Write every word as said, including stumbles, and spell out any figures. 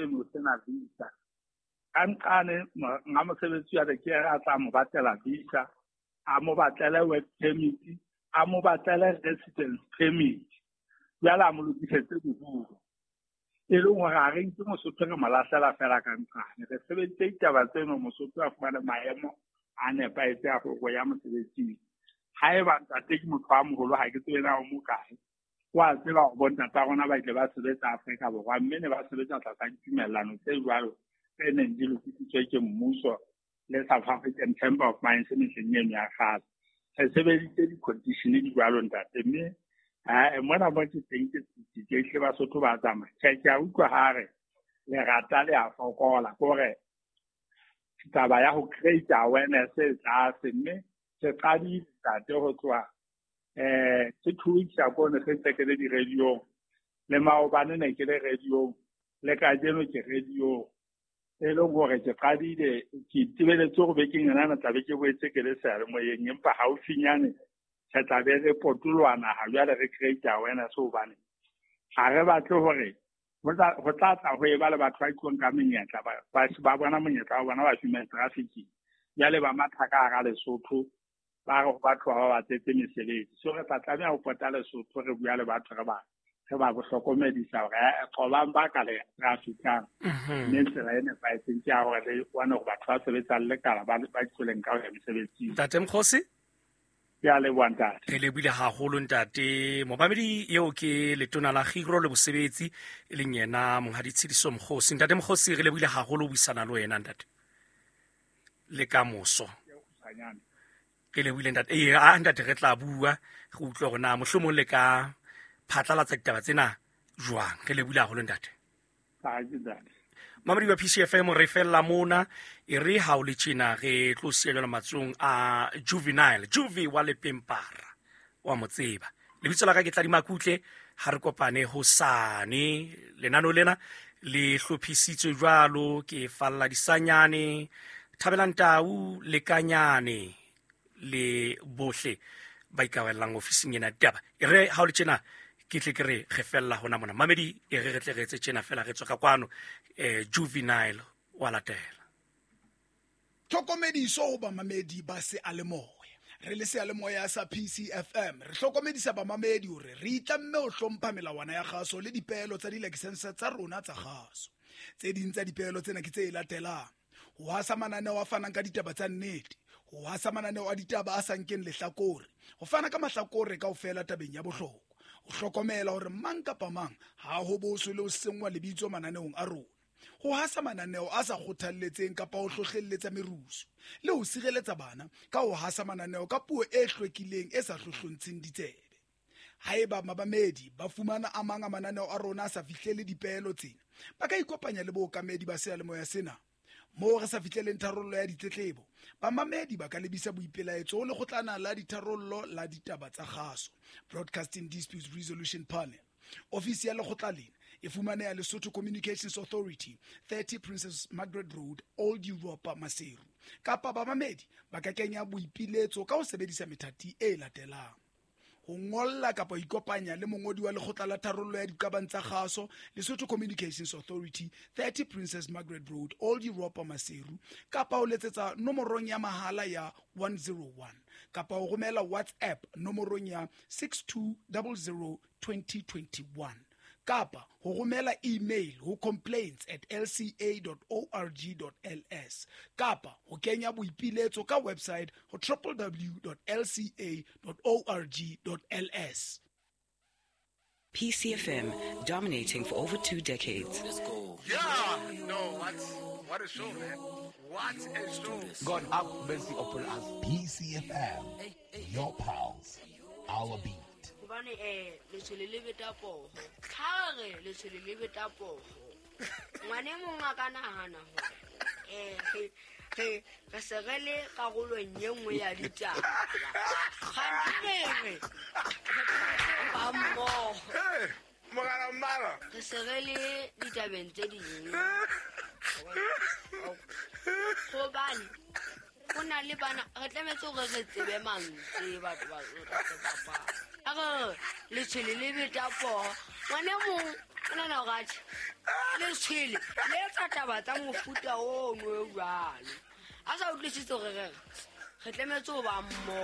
eno o sena visa. Ka nqane nga mosebetsi wa ke a tla mo batlela visa, a mo batlele work permit, a mo batlele residence permit. Jwale a mo lokisetse dibuka. E leng hore ha re nke Mosotho re mo lahlela fela ka nqane. Re sebeditse ditaba tseno Mosotho a fumane maemo a nepahetseng a hore o ya mosebetsing. Haeba ntate ke motho a moholo ha ke tsebe na o mokae. Wa tseba hore bontata rona ba ile ba sebetsa Afrika Borwa mme ne ba sebetsa tlasa ditumellano tse jwalo tse neng di lokisitswe ke mmuso le South African Chamber of Mines mehleng eno ya kgale. Re sebeditse di-condition di jwalo ntate mme eh mona mo ke teng ke tsitsitse ehlile Basotho ba tsamaya. Tjhe, ke a utlwa ha re lerata le a fokola ke hore taba ya ho create awareness e tlase mme se qadile ntate ho tloha eh ke two weeks ago ne se ntse ke le di-radio-ong le maobane ne ke le radio-ong le kajeno ke radio-ong. E leng hore ke qadile ke itebeletse hore bekeng ena na tlabe ke boetse ke le seyalemoyeng empa haufinyane re tla be re potoloha naha jwale re create awareness hobane ha re batle hore ho tla ho tla tla ho eba le batho ba itlong ka menyetla ba ba ba bona monyetla wa bona ba human trafficking jwale ba matha ka hara Lesotho ba re ho batho ba ba batletse mesebetsi. So re tla tlameha ho pota Lesotho re bua le batho re ba re ba hlokomedisa hore eh, qobang ba ka le trafficang. Mme tsela e nepahetseng ke ya hore le bone hore batho ba sebetsang lekala ba ba tsweleng ka ho ya mesebetsing. Ntate Mokgosi, Ke a leboha ntate. Re lebohile haholo ntate. Momamedi eo ke letona la Kgiro le Bosebetsi e leng yena Monghadi Tshediso Mokgosi. Ntate Mokgosi, re lebohile haholo ho buisana le wena ntate. Le ka moso. Re lebohile ntate. Eh, a ntate re tla bua re utlwe hore na mohlomong le ka phatlalatsa ditaba tsena jwang. Re lebohile haholo ntate. Ha ke ntate. Mamedi wa P C F M re fella mona e re ha o le tjena re tlo siya jwalo matsohong a Juvenile, Juve wa Lepempara wa mo tseba. Lebitso la ka ke Tladi Makutle, ha re kopane hosane. Lenano lena le hlophisitswe jwalo ke Falla Disanyane, Thabelang Tau, Lekanyane le bohle ba ikarabellang ofising ena ditaba. E re ha o le tjena ke tle ke re re fella hona mona. Mamedi e re re tle re etse tjena fela re tswe ka kwano, eh, Juvenile wa latela. Tlhokomediso ho bamamedi ba seyalemoya. Re le seyalemoya sa P C F M re hlokomedisa bamamedi hore re itlamme ho hlompha melawana ya kgaso le dipeelo tsa dilakesense tsa rona tsa kgaso. Tse ding tsa dipeelo tsena ke tse latelang: ho hasa mananeo a fanang ka ditaba tsa nnete, ho hasa mananeo a ditaba a sa nkeng lehlakore, ho fana ka mahlakore kaofela tabeng ya bohlokwa, ho hlokomela hore mang kapa mang ha ho boswe le ho senngwa lebitso mananeong a rona, ho hasa mananeo a sa kgothalletseng kapa ho hlohlelletsa merusu, le ho sireletsa bana ka ho hasa mananeo ka puo e hlwekileng e sa hlohlontsheng ditsebe. Haeba mabamedi ba fumana a mang a mananeo a rona a sa fihlele dipeelo tsena, ba ka ikopanya le bookamedi ba seyalemoya sena. Moo re sa fihleleng tharollo ya ditletlebo, bamamedi ba ka lebisa boipelaetso ho lekgotlana la ditharollo la ditaba tsa kgaso, Broadcasting Disputes Resolution Panel. Ofisi ya lekgotla lena e fumaneha Lesotho Communications Authority, thirty Princess Margaret Road, Old Europa, Maseru. Kapa bamamedi ba ka kenya boipiletso ka ho sebedisa methati e latelang: ho ngolla kapa ho ikopanya le mongodi wa lekgotla la tharollo ya diqabang tsa kgaso, Lesotho Communications Authority, thirty Princess Margaret Road, Old Europa, Maseru, kapa ho letsetsa nomorong ya mahala ya one zero one, kapa ho romela WhatsApp nomorong ya six two zero zero twenty twenty-one, kapa ho romela email ho complaints at l c a dot org dot l s, kapa ho kenya boipiletso ka website ho w w w dot l c a dot org dot l s. P C F M, dominating for over two decades. Let's go. Yeah, no, what, what a show, man. What a show. God have mercy upon us. P C F M, your pals, our beat. Hobane, eh, letshwele le beta poho. Ha re letshwele le beta poho. Ngwane mong a ka nahana hore, eh, re, re, re se re le karolong e nngwe ya ditaba. Kganthe re, re ba mmoho. Hey, morena mmala. Re se re le ditabeng tse ding. Hobane ho na le bana, re tlametse hore re tsebe mantswe batho ba re bapala. A re letshwele le beta poho. Ngwane mong O nahana hore atjhe letshwele le etsa taba tsa mofuta ono o jwalo. A sa utlwisise hore re re re tlametse ho ba mmoho.